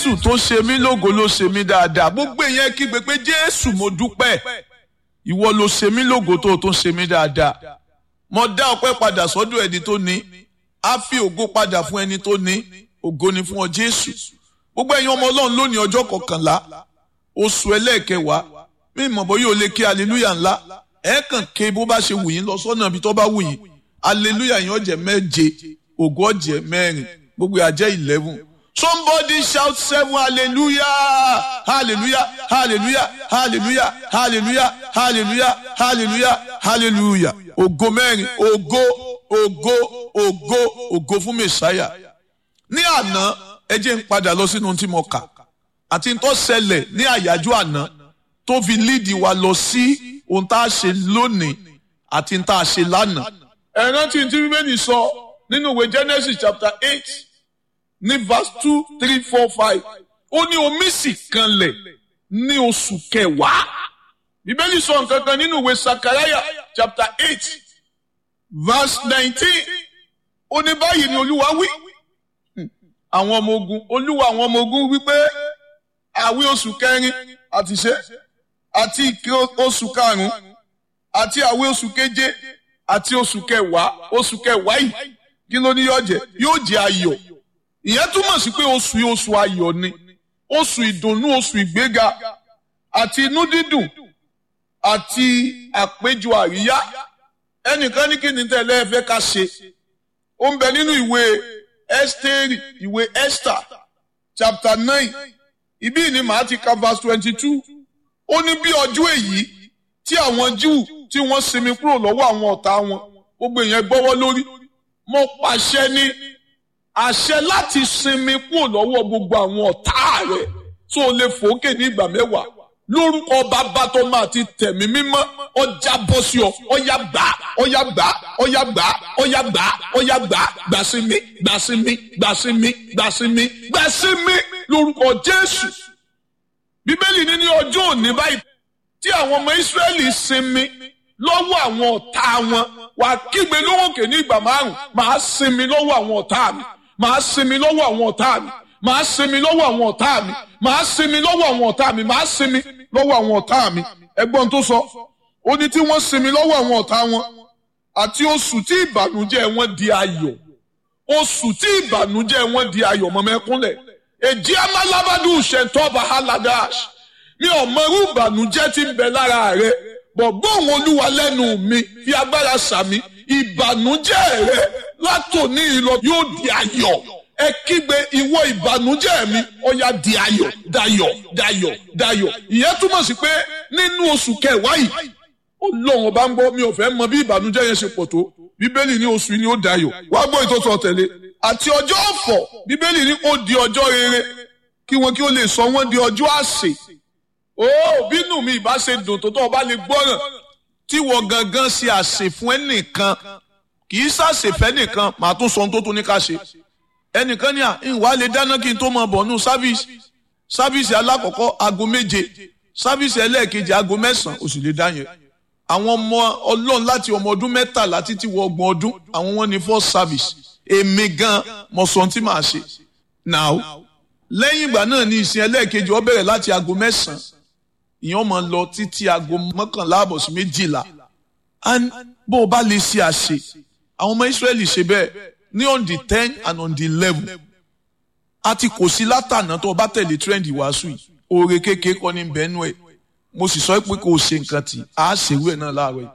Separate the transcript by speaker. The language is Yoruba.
Speaker 1: Jésù tó ṣe mí lógo ló ṣe mí dáadáa. Gbogbo èèyàn kígbe pé Jésù mo dúpẹ́. Ìwọ ló ṣe mí lógo tó tún ṣe mí dáadáa. Mo dá ọpẹ́ padà sọ́dọ̀ ẹni tó ní. A fi ògo padà fún ẹni tó ní. Ògo ni fún ọ Jésù. Gbogbo ẹ̀yin ọmọ Ọlọ́run lónìí ọjọ́ kọkànlá oṣù ẹlẹ́ẹ̀kẹwàá, mi mọ̀ bóyá o lè ké hallelujah ńlá. Ẹ kàn ké bó bá ṣe wù yín lọ sọ́nà ibi tó bá wù yín. Hallelujah yín ó jẹ́ 7, ògo ó jẹ́ 4, gbogbo á jẹ́ 11. Somebody shout 7 hallelujah, hallelujah, hallelujah, hallelujah, hallelujah, hallelujah, hallelujah, hallelujah. Ògo 4, ògo, ògo, ògo, ògo fún Mèsáyà. Ní àná, ẹ jẹ́ n padà lọ sínú tí mo kà àti tó ṣẹlẹ̀ ní àyájọ́ àná tó fi líìdì wa lọ sí ohun tá a ṣe lónìí àti tá a ṣe lánàá. Ẹ rántí tí Bíbélì sọ nínú ìwé Genesis chapter 8 ní verse 2, 3, 4, 5. Ó ní omi sì kanlẹ̀ ní oṣù kẹwàá. Bíbélì sọ nǹkan kan nínú ìwé Sakaraya chapter 8 verse 19. Ó ní báyìí ni Olúwa wí. Àwọn ọmọ ogun, Olúwa àwọn ọmọ ogun wípé àwí oṣù kẹrin àti ṣe àti ìké oṣù karùn-ún àti àwí oṣù keje àti oṣù kẹwàá. Oṣù kẹwàá yìí kí ló ní yóò jẹ́? Yóò jẹ́ ayọ̀. Ìyẹn túmọ̀ sí pé oṣù yìí oṣù ayọ̀ ni, oṣù ìdùnnú, oṣù ìgbéga àti inú dídùn àti àpéjọ àríyá. Ẹnìkan ní kí ni tẹ́lẹ̀ ẹ fẹ́ ká ṣe? Ó ń bẹ nínú ìwé Ẹ́sítérì, ìwé Esther chapter 9. Ibí ni màá ti ka verse 22. Ó ní bí ọjọ́ èyí tí àwọn Júù tí wọ́n sinmi kúrò lọ́wọ́ àwọn ọ̀tá wọn, gbogbo èèyàn gbọ́wọ́ lórí. Mo pàṣẹ ní àṣẹ láti sinmi kúrò lọ́wọ́ gbogbo àwọn ọ̀tá rẹ̀ tó lè fòókè ní ìgbà 10. Lórúkọ bàbá tó máa ti tẹ̀mí mímọ́, ọjà bọ́ sí ọ, ọyá gbà, ọyá gbà, ọyá gbà, ọyá gbà, ọyá gbà, gbà sí mi, gbà sí mi, gbà sí mi, gbà sí mi, gbà sí mi lórúkọ Jésù. Bíbélì ní ní ọjọ́ òní báyìí tí àwọn ọmọ Ísírẹ́lì sinmi lọ́wọ́ àwọn ọ̀tá wọn, wàá kígbe lórókè ní ìgbà 5, màá sinmi lọ́wọ́ àwọn ọ̀tá mi, màá sinmi lọ́wọ́ àwọn ọ̀tá mi, màá sinmi lọ́wọ́ àwọn ọ̀tá mi, màá sinmi lọ́wọ́ àwọn ọ̀tá mi, màá sinmi lọ́wọ́ àwọn ọ̀tá mi. Ẹgbọ́n tó sọ, ó ní tí wọ́n sinmi lọ́wọ́ àwọn ọ̀tá wọn àti oṣù tí ìbànújẹ́ wọn di ayọ̀. Oṣù tí ìbànújẹ́ wọn di ayọ̀, mọ̀mẹ́kúnlẹ̀. Èjì amálábádù ṣètọ́ba haladash. Mi ò mọ irú ìbànújẹ́ tí ń bẹ lára rẹ, bọ̀ gbóhùn Olúwa lẹ́nu mi, fi agbára sàmì. Ìbànújẹ́ rẹ látòní ìlọ yóò di ayọ̀. Ẹ kígbe ìwọ ìbànújẹ́ mi, ó yá di ayọ̀, dayọ̀, dayọ̀, dayọ̀. Ìyẹn túmọ̀ sí pé nínú oṣù kẹwàá yìí, Ọlọ́run ọba ń gbọ́, mi ò fẹ́ mọ bí ìbànújẹ́ yẹn ṣe pọ̀ tó. Bíbélì ní oṣù yìí ni ó dayọ̀. Wá gbọ́ ìtọ́tọ̀ tẹ̀lé. Àti ọjọ́ ọ̀fọ̀, Bíbélì ní ó di ọjọ́ rere kí wọn kí ó lè sọ wọ́n di ọjọ́ àsè. Ó bínú mi ìbá ṣe dùn tó tó ọba lè gbọ́ràn tí wọ́n gangan ṣe àsè fún ẹnìkan, kì í ṣàṣè fẹ́ nìkan, màá tún sọ ohun tó tún ní ká ṣe. Ẹnìkan ní à ń wá lè dáná kí n tó mọ bọ̀ nù sáfíìsì. Sáfíìsì alákọ̀ọ́kọ́ aago 7, sáfíìsì ẹlẹ́ẹ̀kejì aago 9, ó sì lè dá yẹn. Àwọn ọmọ Ọlọ́run láti ọmọ ọdún 13 títí wọ 30 ọdún, àwọn wọn ní first service. Èmi gan mo sọ ohun tí màá ṣe. Now, lẹ́yìn ìgbà náà ni ìsìn ẹlẹ́ẹ̀kejì ó bẹ̀rẹ̀ láti aago 9. Ìyẹn máa lọ títí aago 11:30 sí 12. And bó o bá lè ṣe àṣe, àwọn ọmọ Ísírẹ́lì ṣe bẹ́ẹ̀ ní on the 10 and on the 11. Àti kò sí látànà tó o bá tẹ̀lé trend ìwàásù yìí. Oore kékeré kọ́ ní bẹ́ẹ̀nù ẹ̀. Mo sì sọ pé kò ṣe nǹkan tí a ṣèwé náà láàárọ̀ yìí.